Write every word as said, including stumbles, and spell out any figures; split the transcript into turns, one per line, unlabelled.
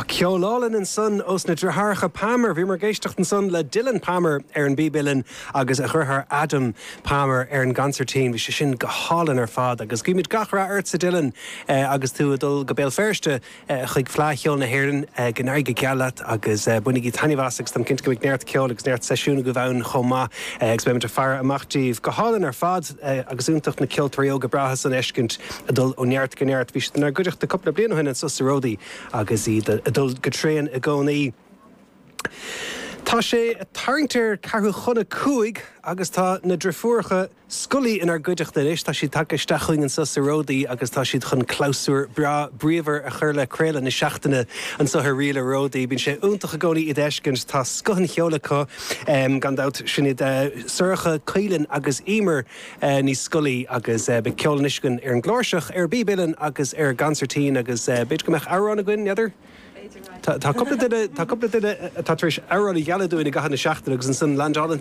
Ceol álainn ansan ós na deartháireacha Palmer bhí muid ag éisteacht ansan le Dylan Palmer ar an bpíb uilleann agus a dheartháir Adam Palmer ar an gconsairtín, bhí sé sin go hálainn ar fad agus guímid gach rath ortsa Dylan eh, agus tú ag dul go Béal Feirste eh, chuig Fleadh Cheoil na hÉireann eh, go n-éirí go geal leat agus eh, bainigí taitneamh as agus táim cinnte go mbeidh neart ceoil agus neart seisiún agaibh ann chomh maith eh, agus beimid ag faire amach daoibh go hálainn ar fad eh, agus iontach na ceoltóirí óga breátha san a fheiscint ag dul ó neart go neart bhí siad inár gcuideachta cúpla bliain ó shin anso sa Ródaí agus iad ag dul go tréan i gcónaí. Tá sé tarraingt ar ceathrú chun a cúig agus tá na deirfiúracha Scully inár gcuideachta anois, tá siad tagtha isteach chugainn anso sa Ródaí agus tá siad chun clabhsúr breá bríomhar a chur le craoladh na seachtaine anseo ar Ríle Ródaí. Bíonn sé iontach i gcónaí iad a fheiscint tá scoth an cheoil acu um, gan dabht sin iad uh, Sorcha Caolan agus Emer uh, Ní Scolaí agus uh, beidh ceol anois againn ar an gcláirseach ar an bpíb uilleann agus ar an gconsairtín agus uh, b'fhéidir go mbeadh amhrán againn n'fheadar? Tá cúpla duine tá cúpla duine atá tar éis amhrán a ghealladh dúinn i gcaitheamh na seachtaine agus ansan landálann